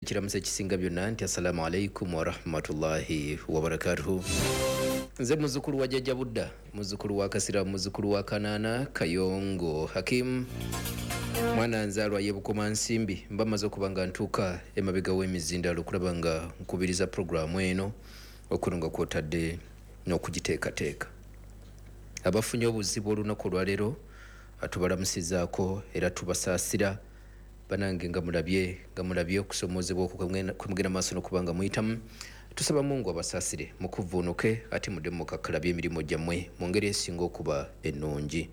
Ekiramuso ekisinga byonna nti assalamu alaikum warahmatullahi wabarakatuhu. Nze muzukulu wa Jjajja Budda, muzukulu wa Kasira, muzukulu wa Kanaana Kayongo Hakimu, mwana nzaalwa ye Bukoma Nsimbi. Mba maze okuba nga ntuuka emabega w'emizindalo okulaba nga nkubiriza puroguramu eno okuno nga kwotadde n'okugiteekateeka. Abafunye obuzibu olunaku olwaleero tubalamusizaako era tubasaasira. Banange, nga mulabye okusomoozebwa okwo kwemugenda maaso n'okuba nga muyitamu, tusaba Mungu abasaasire, mukuvuunuke ate mudde mukakkalabye emirimu gyammwe mu ngeri esinga okuba ennungi.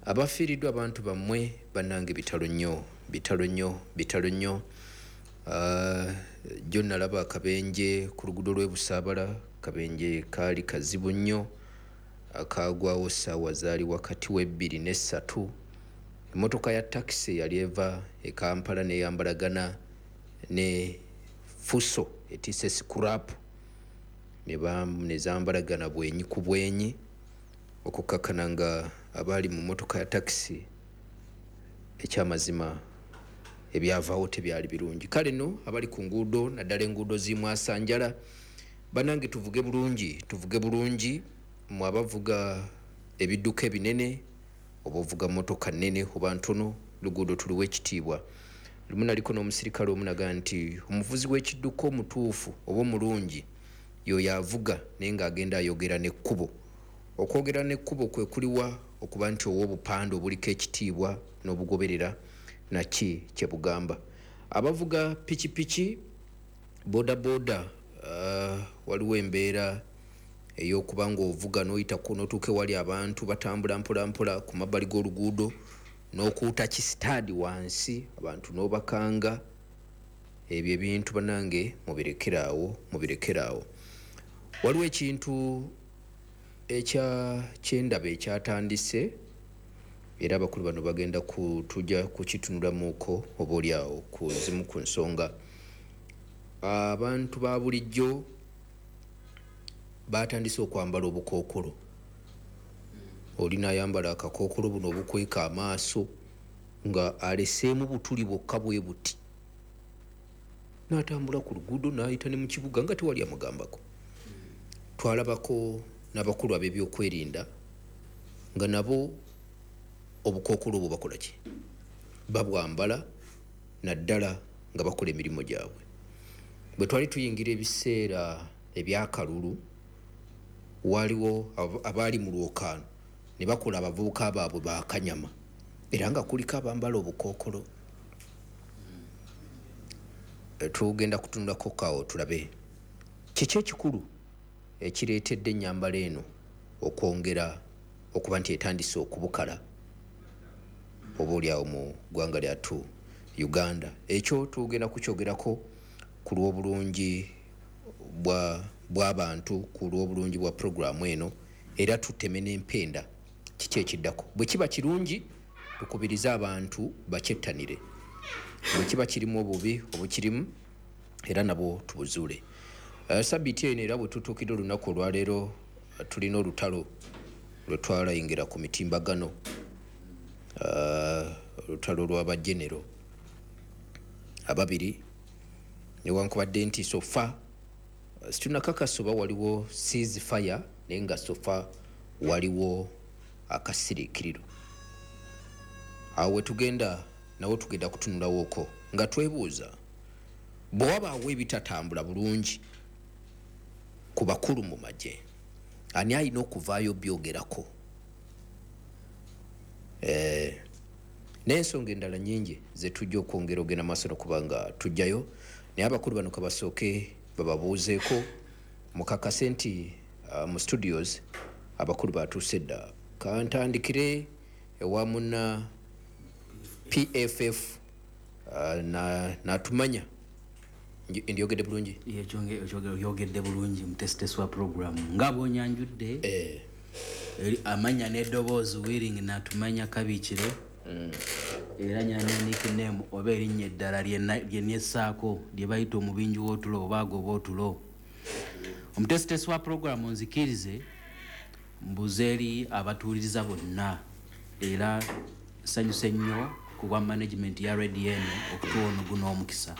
Abafiiriddwa abantu bammwe, bannange, bitalo nnyo, bitalo nnyo, bitalo nnyo. Jjo nalaba akabenje ku luguudo lw'e Busaabala. Kabenje kaali kazibu nnyo, akagwawo ssaawa zaali wakati w'2 ne 3. Emmotoka ya takisi yali eva e Kampala neyambalagana ne Fuso etisse scrap, nezambalagana bwenyi ku bwenyi, okukakkana nga abaali mu mmotoka ya takisi ekyamazima ebyavaawo tebyali birungi. Kale nno abali ku nguudo, naddala enguudo zimwasanjala, banange, tuvuge bulungi, tuvuge bulungi. Mwe abavuga ebidduka ebinene, oba ovuga motoka nene oba ntono, luguudo tuliwo ekitiibwa. Lumu naliko n'omusirikale omu naga nti omuvuzi w'ekidduka omutuufu oba omulungi yoyo avuga naye ng'agenda ayogera n'ekkubo. Okwogera n'ekkubo kwe kuliwa? Okuba nti owa obupande obuliko ekitiibwa n'obugoberera naki kye bugamba. Abavuga pikipiki, boda boda, waliwo embeera ey'okuba ng'ovuga n'oyitako n'otuuka ewali abantu batambula mpolampola ku mabbali g'oluguudo n'okuuta kisitaadi wansi, abantu n'obakanga. Ebyo ebintu, banange, mubirekeraawo, mubirekeraawo. Waliwo ekintu ekya kyendaba ekyatandise, era abakulu bano bagenda tujja kukitunulamuko oba oliawo ku zimu ku nsonga. Abantu ba bulijjo batandise okwambala obukookolo. Oli nayambala akakookolo buno obukweka amaaso nga aleseemu butuli bwokka bwe buti, n'atambula ku luguudo n'ayita ne mu kibuga nga tewali amugambako. Twalabako n'abakulu ab'ebyokwerinda nga nabo obukookolo obwo bakola ki? Babwambala, naddala nga bakola emirimu gyabwe. Bwe twali tuyingira ebiseera ebyakalulu, waliwo abaali mu lwokaano ne bakola abavubuka baabwe bakanyama, era nga kuliko abambala obukookolo. Tugenda kutunulako kawo tulabe kiki ekikulu ekireetedde ennyambala eno okwongera okuba nti etandise okubukala oba oliawo mu ggwanga lyattu Uganda. Ekyo tugenda kukyogerako ku lw'obulungi bw'abantu, ku lw'obulungi bwa puroguramu eno, era tuteme n'empenda kiki ekiddako. Bwe kiba kirungi, tukubirize abantu bakyettanire. Bwe kiba kirimu obubi obukirimu, era nabwo tubuzuule. Sabiiti eno, era bwe tutuukidde olunaku olwaleero, tulina olutalo lwe twalayingira ku mitimbagano, olutalo lw'abajenero ababiri. Newankubadde nti so far situnakakasa oba waliwo cease fire, naye nga so far waliwo akasiriikiriro. Awo wetugenda nawo tugenda kutunulawooko nga twebuuza, bwe wabaawo ebitatambula bulungi ku bakulu mu magye, ani alina okuvaayo byogerako? N'ensonga endala nyingi zetujja okwongera ogenda maaso nokuba nga tujjayo, naye abakulu bano kabasooke bababuuzeeko mukakase nti mu studios abakulu batuuse dda. Kantandikire ewa munna PFF natumanya. Ndyogedde bulungi? Oyogedde bulungi, mutesitesi wa program, nga bwonyanjudde. Amanya n'eddoboozi, Willing Natumanya Kabiikiro. Era nyina ne nickname oba erinnya eddala lye nessaako lye bayita omubinji w'otulo oba agoba otulo. Omutesitesi wa program, nzikirize mbuze eri abatuuliriza bonna, era nsanyuse nnyo ku bwa management ya radio eno okutuwa ono guno omukisa.